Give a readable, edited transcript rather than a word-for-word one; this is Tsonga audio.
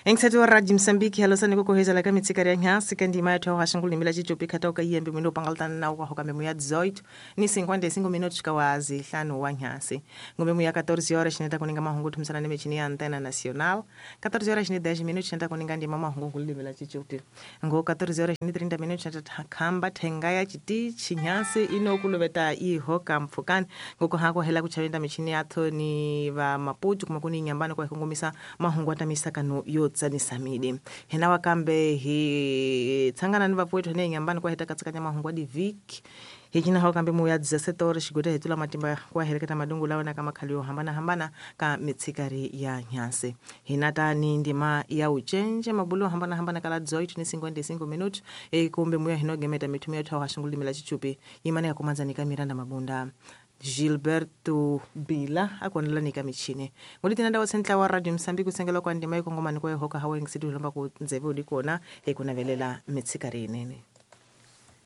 Engisati wa Radio Mozambique halosani ku kuhezela ka mitsikari ya nhasi ka ndima ya thoha xingulimi la Xicopi khata ka yembe mwino pangaltana na wa hoka memu ya 18 ni 55 minutos ka wazi hlanu wa nhasi. Ngombe ya 14 horas xineta kuninga mahungu thumisana ni michini ya Antena Nacional. 14 horas ni 10 minutos xineta kuninga ndima mahungu ngulimi la Xicopi. Ngo 14 horas ni 30 minutos xineta khamba thenga ya chitichi nhasi ino kuluveta ihoka mpfukani. Ngoko hako hela kuchavenda michini yatho ni va Maputo kuma kuni nyambani kwa kongomisa mahungu atamisakano yo tsanisa midi. Hina wakambe hi tsangana ni vapwetu hene nyambani kwa heta katsikanya mahungu adi viki. Hikina hao kambe muya 17 horas xigweta hi tula matimba kwa heleketa madungu lawa na kama khalio hambana hambana ka mitsikari ya nyase. Hinata ni ndima ya uchenje mabulo hambana hambana kala 18 ni 55 minutos e kumbe muya hinogemeta mitumia thawa xingulimi la Xichupi yimane ya kumanza ka Miranda Mabunda. Gilberto Bila akonela nika michini. Ngolitina ndawo sentla wa Radio Mozambique kusengela kwa ndima ikongomani kwa hoka hawe ngisitu lomba ku ndzeve udikona ekunavelela mitsikari inene.